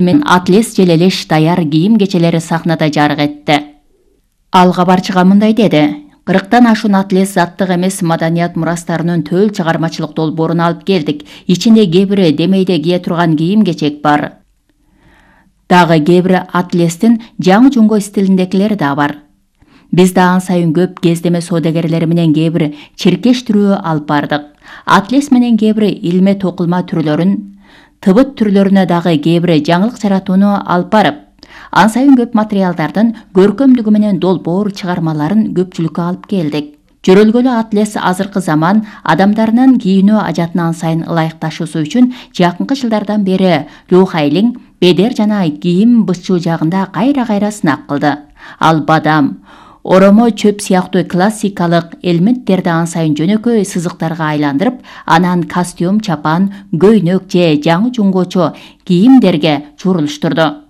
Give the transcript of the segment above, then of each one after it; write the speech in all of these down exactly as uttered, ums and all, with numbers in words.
мен Атлес желелеш даяр кийим кечелери сахнада жарык этти. Ал кабарчыга мындай деди: кырктан ашуун Атлес заттык эмес маданият мурастарынын төл чыгармачылык долбоорун алып келдик. Ичинде кээ бири демейде кие турган кийим кечек бар. Дагы кээ бири Атлестин жаңы жуңго стилиндегилери да бар. Биз да ан сайын көп кездеме соодагерлери менен кээ бир чиркештирүү алып бардык. Атлес менен кээ бир илме токулма түрлөрүн, тыбыт түрлөрүнө дагы кээ бир жаңылык жаратууну алып барып, ан сайын көп материалдардын көркөмдүгү менен долбоор чыгармаларын көпчүлүккө алып келдик. Жөрөлгөлө Атлес азыркы заман адамдарынын кийинүү ажатына ан сайын ылайыкташуусу үчүн жакынкы жылдардан бери Лю Хайлинг бедер жана кийим бычуу жагында кайра-кайра сынак кылды. Ал бадам, оромо, чөп сыяктуу классикалык элементтерди ан сайын жөнөкөй сызыктарга айландырып, анан костюм, чапан, көйнөк же жаңы жуңгочо кийимдерге чурулуштурду.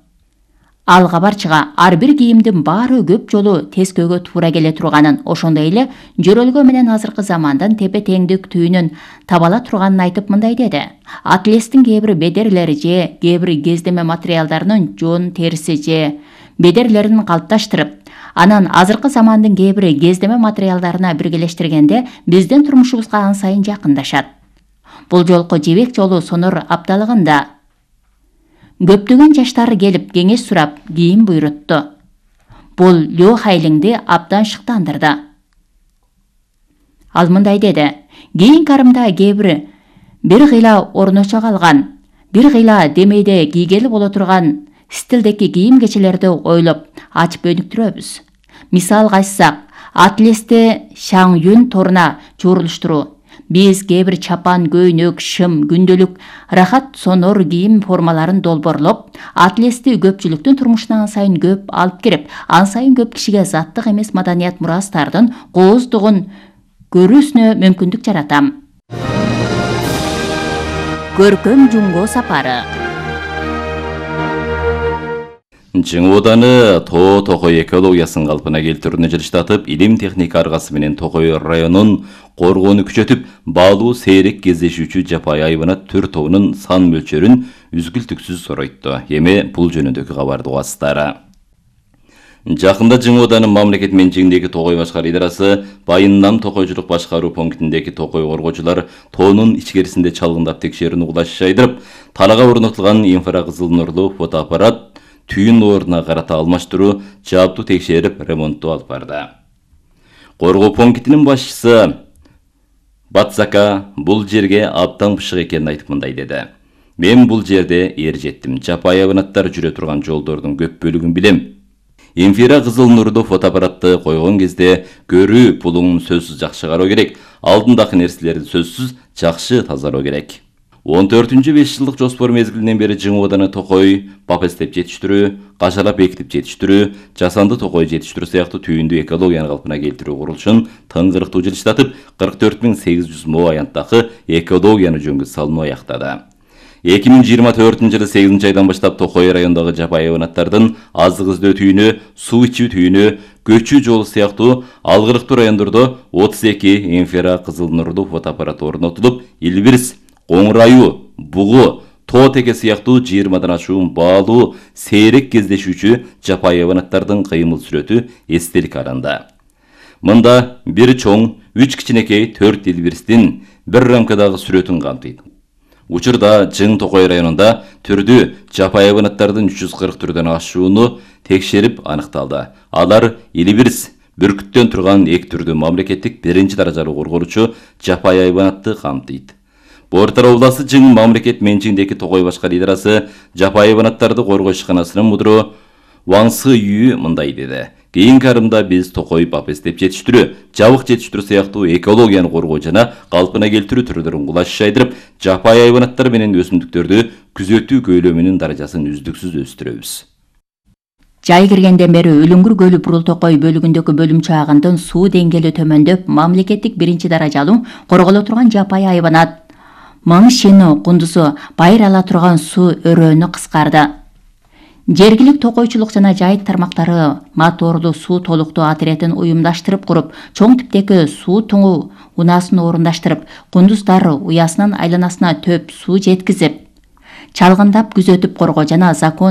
Ал кабарчыга ар бир кийимдин баары көп жолу тескөөгө туура келе турганын, ошондой эле жөрөлгө менен азыркы замандын тепе-теңдик түйүнүн табала турганын айтып мындай деди: Атлестин кээ бир бедерлери же кээ бир кездеме материалдарынын жон териси же бедерлерин калыпташтырып, анан азыркы замандын кээ бир кездеме материалдарына биргелештиргенде биздин турмушубузга ан сайын жакындашат. Бул жолку жибек жолу сонор апталыгында көптөгөн жаштар келип кеңеш сурап кийим буйрутту. Бул Лю Хайлингди абдан шыктандырды. Ал мындай деди: кийин карымда кээ бир бир кыйла орночо калган, бир кыйла демейде кийгели боло турган стилдеги кийим кечелерди ойлоп ачып өнүктүрөбүз. Мисалга айтсак, Атлести Шаң Юн торуна чурулуштуруу. Биз кээ бир чапан, көйнөк, шым, күндөлүк, рахат сонор кийим формаларын долбоорлоп, Атлести көпчүлүктүн турмушуна ан сайын көп алып кирип, ан сайын көп кишиге заттык эмес маданият мурастардын кооздугун көрүүсүнө мүмкүндүк жаратам. Көркөм жуңго сапары. Жыңы ооданы Тоо Токой экологиясын калпына келтирүүнү жылыштатып, илим техника аргасы менен Токой районун коргоону күчөтүп, баалуу сейрек кездешүүчү жапайы айбанат түр тобунун сан мөлчөрүн үзгүлтүксүз соройту. Эми бул жөнүндөгү кабарды угасыздар. Жакында Жыңы ооданы мамлекет менчигиндеги Токой башкаруу идарасы Байын-Нам токойчулук башкаруу пунктиндеги Токой коргоочулар тоонун ичкерисинде чалгындап текшерүүнү кулаш жайдырып, талага орнотулган инфракызыл нурлуу фотоаппарат түйүн ордуна карата алмаштыруу, жааптуу текшерип, ремонттоо алып барды. Коргоо пунктинин башчысы Батсака бул жерге абдан бышык экенин айтып мындай деди: Мен бул жерде эр жеттим. Жапайы айбанаттар жүрө турган жолдордун көп бөлүгүн билем. Инфракызыл нурдуу фотоаппаратты койгон кезде көрүү пулуң сөзсүз жакшы кароо керек. Алдындагы нерселерди сөзсүз жакшы тазалоо керек. он төртүнчү беш жылдык жоспор мезгилинен бери Жыңы ооданы Токой папестеп жетиштирүү, кашалап бекитип жетиштирүү, жасанды Токой жетиштирүү сыяктуу түйүндүү экологияны калпына келтирүү курулушун тыңгырыктуу жылыштатып, кырк төрт миң сегиз жүз мо аянттагы экологияны жөнгө салуу аяктады. эки миң жыйырма төртүнчү жылы сегизинчи айдан баштап Токой райондогу жапайы айбанаттардын азык издөө түйүнү, суу ичүү түйүнү, көчүү жолу сыяктуу алгырыктуу райондордо отуз эки инфракызыл нурлуу фотоаппарат орнотулуп, Илбирс, Оңрайуу, Бугу, Тоо Теке сыяктуу жыйырмадан ашуун баалуу сейрек кездешүүчү жапайы айбанаттардын кыймыл сүрөтү эстелик алынды. Мында бир чоң, үч кичинекей, төрт Илбирстин бир рамкадагы сүрөтүн камтыйт. Учурда Жың Токой районунда түрдүү жапайы айбанаттардын үч жүз кырк түрдөн ашууну текшерип аныкталды. Алар Илбирс, бүркүттөн турган эки түрдүү мамлекеттик биринчи даражалуу корголуучу жапайы айбанатты камтыйт. Бортар обласы Жың мамлекет менчигиндеги Токой башкаруу идарасы жапайы айбанаттарды коргоо ишканасынын мудуру Ваң Сы Үй мындай деди: Кийинки арымда биз Токой папестеп жетиштирүү, жабык жетиштирүү сыяктуу экологияны коргоо жана калпына келтирүү түрлөрүн кулаш жайдырып, жапайы айбанаттар менен өсүмдүктөрдү күзөтүү көйлөмүнүн даражасын үздүксүз өстүрөбүз. Жай киргенден бери Үлүңгүр көлү Бурул Токой бөлүгүндөгү бөлүмчө агындын суу деңгээли төмөндөп, мамлекеттик биринчи даражалуу корголо турган жапайы айбанат Маң Шино кундусу байыр ала турган суу өрөөнү кыскарды. Жергилик токойчулук жана жайыт тармактары моторлуу суу толуктоо отрядын уюмдаштырып куруп, чоң типтеги суу туңу унаасын орундаштырып, кундуздар уясынын айланасына төп суу жеткизип, чалгындап күзөтүп коргоо жана закон